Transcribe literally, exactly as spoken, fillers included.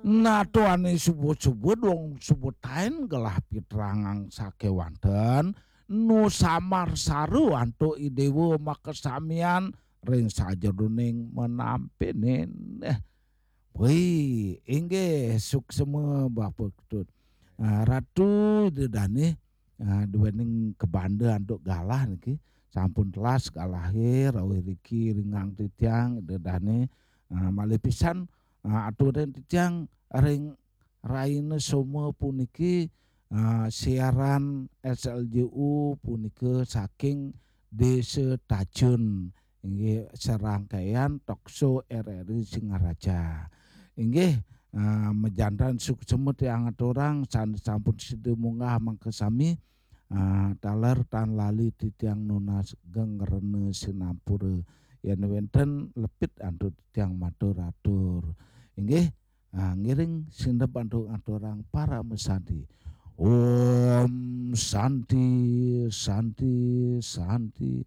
Nah, tuane subuh-subuh dong subuh tain gelah pitrangang sakewanten nu samar saru antuk Idewa makasamian ring sajeroning menampene. Wih, inggih suksema Bapak Ketut. Ah, Ratu Ida Dane, ah, duening kabanda antuk galah niki. Sampun telas galahe rawuh riki ringang titiang Ida Dane. Ah, malih pisan, ah, aturin titiang ring raina Soma puniki, ah, siaran S L J U punika saking Desa Tajun, inggih serangkaian talk show R R I Singaraja. Inggih, ah, majanten suksema tiang aturang san-, sampun sida munggah makasami, ah, taler tan lali titiang nunas geng rena sinampura. Yen wenten lepit antuk titiang matur atur. Inggih, ah, ngiring sindep antuk aturang parama santi. Om Santi, Santi, Santi.